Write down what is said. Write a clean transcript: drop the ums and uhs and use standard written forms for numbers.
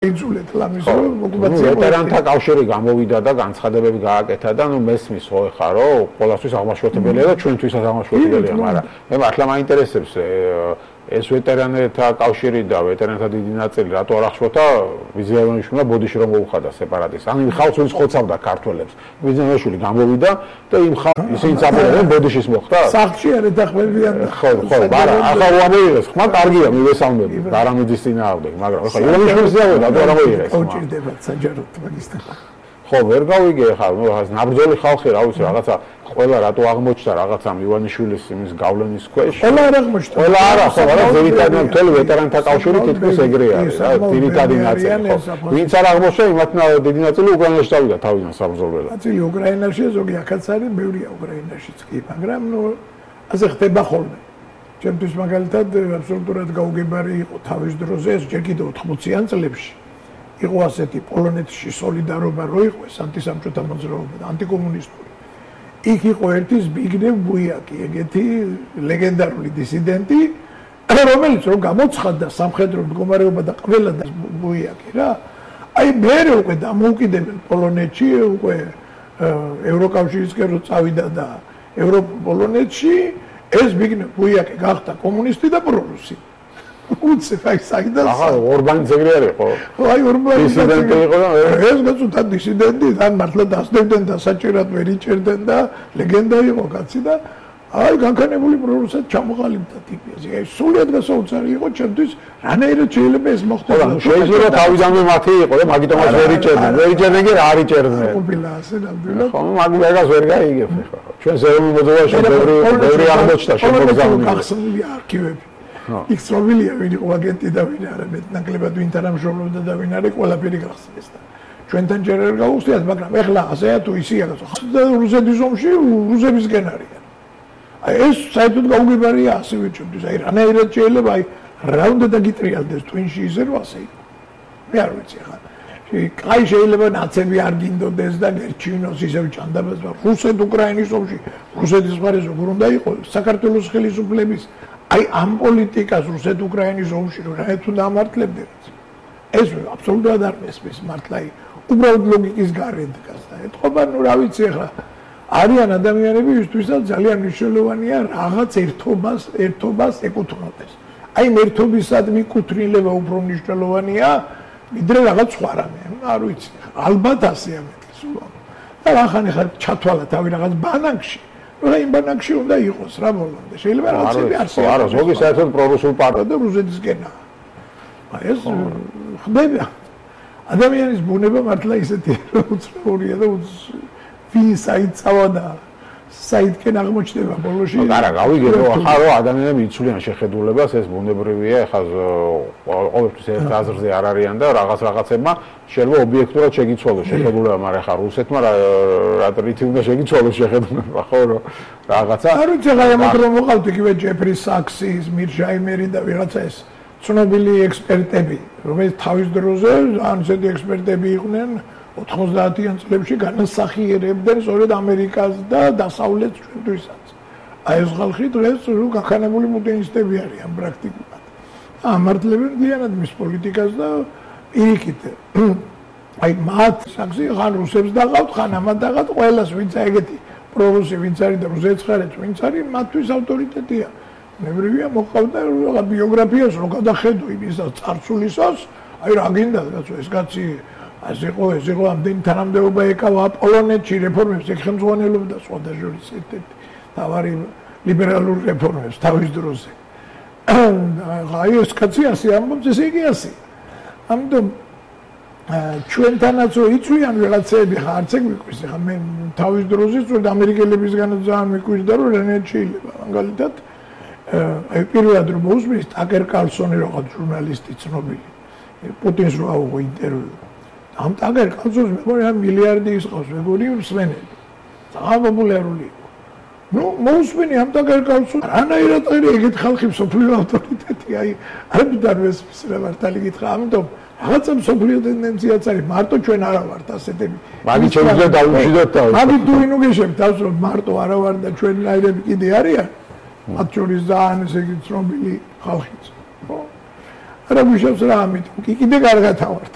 იცულეთ ლამისო ოკუპაცია ვეტერანთა კავშირი გამოვიდა და განცხადებები გააკეთა და მესმის ხო ეხა რომ ყოველთვის აღმაშფოთებელია და ჩვენთვისაც აღმაშფოთებელია მაგრამ მე მართლა მაინტერესებს ეს ვეტერანთა კავშირი და ვეტერანთა დიდი ნაწილი რატო არ აღშფოთა ვიზიაშვილი ბოდიში რომ მოუხადა სეპარატისტს ან იმ ხალხს ვინც ხოცავდა ქართველებს ვიზიაშვილი გამოვიდა და იმ ისინი წაბოდნენ ბოდიშის მოხდა სახლში არ ეთახმებიან ხო არა ახლა უამოიღეს ხმა კარგია მივესალმები ბარამიძის წინააღმდეგ მაგრამ ახლა ვიზიაშვილის ზავოდა და რა მოიღეს ოჭირდება საჯაროდ მაგისტა ხო ვერ გავიგე ახლა ნაბრძოლი ხალხი რა ვიცი რაღაცა ყველა რატო აღმოჩნდა რაღაცა ივანიშვილის იმის გავლენის ქვეშ ყველა არ აღმოჩნდა ყველა არა ხო მაგრამ ძირითადად მთელი ვეტერანთა კავშირი თითქოს ეგრეა რა ძირითადი ნაწილი ხო ვინც არ აღმოჩნდა იმათ დიდი ნაწილი უკრაინაში დავიდა თავიდან საბრძოლველად ნაწილი უკრაინაში ზოგი ახაც არის ბევრია უკრაინაშიც კი მაგრამ ნუ ასე ხდება ხოლმე ჩემთვის მაგალითად აბსოლუტურად გაუგებარი იყო თავის დროზე ეს ჯერ კიდევ 80-იან წლებში იყო ასეთი პოლონეთში სოლიდარობა რო იყო ეს ანტისამჭოთა მოძრაობა და ანტიკომუნისტური იქ იყო ერთი ზბიგნევ ბუიაკი ეგეთი ლეგენდარული დისიდენტი რომელიც რომ გამოცხადდა სამხედრო მდგომარეობა და ყველა და ბუიაკი რა აი მერე უკვე დამოუკიდებელ პოლონეთში უკვე ევროკავშირისკენ რო წავიდა და ევროპოლონეთში ეს ზბიგნევ ბუიაკი გახდა კომუნისტი და პრორუსი უცებ აი საიდან ახლა ორბანი ძეგლი არ იყო ხო აი ორბანი დისიდენტი იყო და ეს გაწუთა დისიდენტი თან მართლა დასდებდნენ და საჭიროდ ვერ იჭერდნენ და ლეგენდა იყო კაცი და აი განქანებული პრორუსად ჩამოყალიბდა ტიპი აი სულიად გასაოცარი იყო ჩემთვის რანაირად შეიძლება ეს მოხდეს შეიძლება თავიდანვე მათი იყო და მაგიტომაც ვერ იჭერდნენ კი რა არ იჭერდნენ ყოფილა ასე ნამდვილად ხო მაგას ვერ გაიგებ ხო ჩვენ ზეომი მოძრაობაში ბევრი აღმოჩნდა შემოგზავნილი გახსნილია არქივები იქ ცნობილია ვინ იყო აგენტი და ვინ არა მეტნაკლებად ვინ თანამშრომლობდა და ვინ არის ყველაფერი გახსნეს და ჩვენთან ჯერ არ გავუხსნიათ მაგრამ ეხლა ასეა თუ ისეა და რუსეთის ომში რუსებისგენ არიან აი ეს საერთოდ გაუგებარია ასევე ჩვენთვის აი რანაირად შეიძლება აი რა უნდა დაგიტრიალდეს twin-ში ისე რომ ასე იყო მე არ ვიცი ხა კაი შეიძლება ნაცები არ გინდოდეს და გერჩინოს ისევ ჭანდაბას რუსეთ-უკრაინის ომში რუსეთის მხარეს როგორ უნდა იყოს საქართველოს ხელისუფლების აი ამ პოლიტიკას რუსეთ-უკრაინის ომში რომ რა თუ დამართლებდეთ ეს აბსოლუტურად არ მესმის მართლა უბრალოდ ლოგიკის გარეთ დგას და ეთქობა ნუ რა ვიცი ახლა არიან ადამიანები ვისთვისაც ძალიან მნიშვნელოვანია რაღაც ერთობას ეკუთვნოდეს აი ერთობისად მიკუთვნილება უფრო მნიშვნელოვანია ვიდრე რაღაც სხვა რამე არ ვიცი ალბათ ასეა მეტყვის და რახან ახლა ჩათვალა თავი რაღაც ბანაკში რა იმ ბანაკში უნდა იყოს რა ბოლომდე შეიძლება რაღაცები არსებობს არა ზოგი საერთოდ პრორუსულ პარტია და რუსეთისკენა აი ეს ხდება ადამიანის ბუნება მართლა ისეთი უცნაურია და ვინ საიტსავა და საიტკენ აღმოჩნდება ბოლოში არა გავიგე რომ ახლა რომ ადამიანები იცვლიან შეხედულებას ეს ბუნებრივია ახლა ყოველთვის ერთ აზრზე არ არიან და რაღაცებმა შეიძლება ობიექტურად შეგიცვალოს შეხედულება მაგრამ ახლა რუსეთმა რა რითი უნდა შეგიცვალოს შეხედულება ხო რომ რაღაცა არ ვიცი ახლა ამათ რომ მოყავთ იგივე ჯეფრი საქსის მირჟაიმერი და ვიღაცა ეს ცნობილი ექსპერტები რომელიც თავის დროზე ან ესეთი ექსპერტები იყვნენ 90-იან წლებში განასახიერებდნენ სწორედ ამერიკას და დასავლეთს ჩვენთვისაც. აი ეს ხალხი დღეს გახანებული პუტინისტები არიან პრაქტიკულად. ამართლებენ ძალიანად მის პოლიტიკას და პირიქით. აი მათ საქსი ხან რუსებს დაღავთ, ხან ამათ დაღავთ, ყველას ვინც ეგეთი პრორუსი ვინც არის და რუსეთის ხარეთ ვინც არის, მათთვის ავტორიტეტია. ნებრივია მოყავდა რა ბიოგრაფიას რო გადახედო იმისაც წარსულისას, აი რა გინდა კაცო ეს კაცი ეს იყო ამდენი თანამდებობა ეკავა პოლონეთში რეფორმებს ეხმძღვანელობდა სხვათა შორის ერთ-ერთი თავარი ლიბერალური რეფორმებს თავის დროზე. აი ეს კაცი ასე ამბობს ესე იგი ასე. ამიტომ ჩვენთანაც იწვიან ვიღაცები ხა არც ეგ მიყვის ხა მე თავის დროზე სწორედ ამერიკელებისგანაც ძალიან მიყვირდა რომ რანაირად შეიძლება მაგალითად აი პირველად რომ მოусმის ტაკერ კარლსონი რაღაც ჟურნალისტი ცნობილი პუტინს რო აუღო ინტერვიუ ამ ტაგერ კაცოს მეგონი ამ მილიარდი ისყავს მეგონი მსმენელი ძალიან პოპულარული იყო ნუ მოусმენი ამ ტაგერ კაცოს რანაირად არის ეგეთ ხალხი სოფლიო ავტორიტეტი აი არ მიდარვეს რა მართალი გითხრა ამიტომ რაღაცა სოფლიო ტენდენციაც არის მარტო ჩვენ არა ვართ ასეთები მაგით შეიძლება დავუშვიდოთ თავი მაგით თუ ვინ უგეშებთ თავს რომ მარტო არა ვარ და ჩვენნაირები კიდე არიან მათ შორის ძალიან ესე იგი ცნობილი ხალხიც ხო არა გუშავს რა ამით კი კიდე კარგად ავართ